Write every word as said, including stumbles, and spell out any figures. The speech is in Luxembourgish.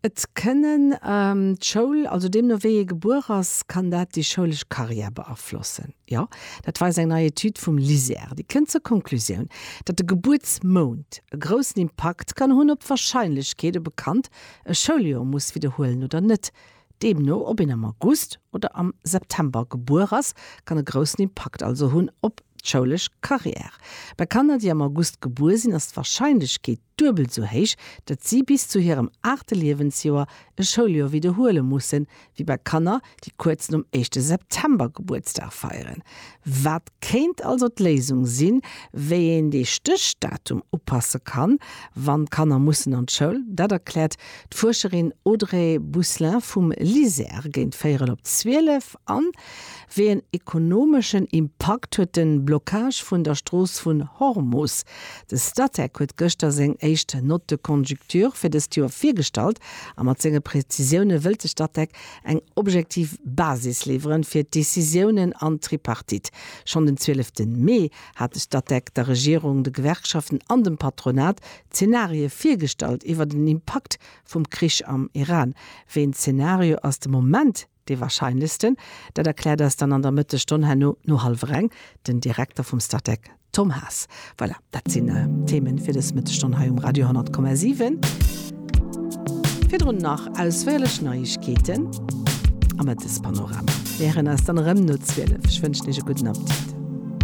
Et kënnen d'Schoul, also deemno wéi ee gebuer ass, kann dat déi schoulesch Karriär beaflossen. Jo, dat weist eng nei Etüd vum LISER. Déi kënnt zur Konklusioun, datt de Gebuertsmount e groussen Impakt kann hunn op d'Warscheinlechkeet, ob e Kand e Schouljoer muss widderhuelen oder net. Deemno, ob een am August oder am September gebuer ass, kann e groussen Impakt also hunn op d'schoulesch Karriär. Bei Kanner, déi am August gebuer sinn, ass d'Warscheinlechkeet duebel sou héich, datt si bis zu hirem aachte Liewensjoer e Schouljoer widderhuele mussen, wéi bei Kanner, déi kuerz nom éischte September Gebuertsdag feieren. Wat kéint also d'Léisung sinn, wéi een dee Stéchdatum upasse kann, wann d'Kanner mussen an d'Schoul? Dat erkläert d'Fuerscherin Audrey Bousselin vum LISER géint véierel op zwielef. An wéi en ekonomeschen Impakt huet de Blockage vun der Strooss vun Hormus? De Statec huet gëschter seng éischt Note de conjoncture fir dëst Joer virgestallt a mat senge Prezisioune wëllt de Statec eng objektiv Basis liwweren fir d'Decisiounen an d'Tripartite. Schonn den zwielefte Mee hat de Statec der Regierung, de Gewerkschaften an dem Patronat Zenarie virgestallt iwwer den Impakt vum Krich am Iran. Wéi en Zenario ass de Moment dee warscheinlechsten? Dat erkläert eis dann an der Mëttesstonn herno no hallwer eng den Direkter vum Statec Tom Haas. Voilà, dat sinn d'Themen fir dës Mëttesstonn hei um Radio honnert Komma siwen. Virdrun nach ausféierlech Neiegkeeten am Mëttespanorama. Mir héieren eis dann erëm no zwielef. Ech wënschen Iech e gudden Appetit.